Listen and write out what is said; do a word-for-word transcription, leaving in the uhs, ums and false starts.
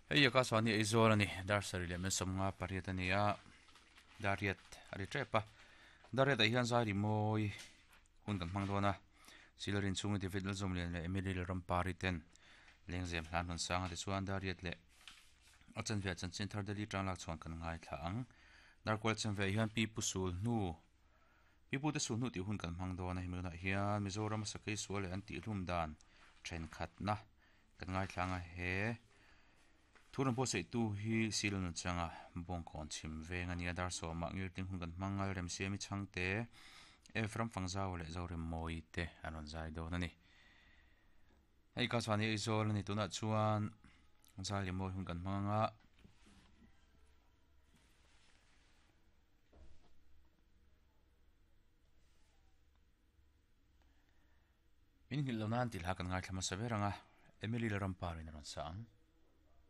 Hei Akashvani Aizawl a ni, dar sarih leh mensawmnga pariat a ni a, dariat a ri tep a, dariatah hian zai rimawi hun kan hmang dawn a, Silarin chhunga David Lalzawmlian leh Emily Lalrampari ten lengzem hlan hmun sanga tichuan dariat leh a chanve ah chanchin thar Delhi tang lak chhuan kan ngaithla ang. Darkual chanve ah hian Pi Pu Sul hnu Pi Pu te Sul hnu tih hun kan hmang dawn a, hemi hunah hian Mizoram a sakei sual leh an tihhlum dan thenkhatna kan ngaithla ang a, he thu rawn buatsaihtu hi Silo Nunchanga Bawngkawn chhim veng a ni a, dar sawmah ngirting hun kan hmang a, Remsiami Chhangte, Ephraim Fangzau leh Zoremmawi te an rawn zai dawn a ni. Hei ka chuan hi Aizawl a ni, tunah chuan zai leh mawi hun kan hmang ang a. Min nghilh lo nan tih hla kan ngaithla hmasa ber ang a, Emily Lalramparin a rawn sa ang.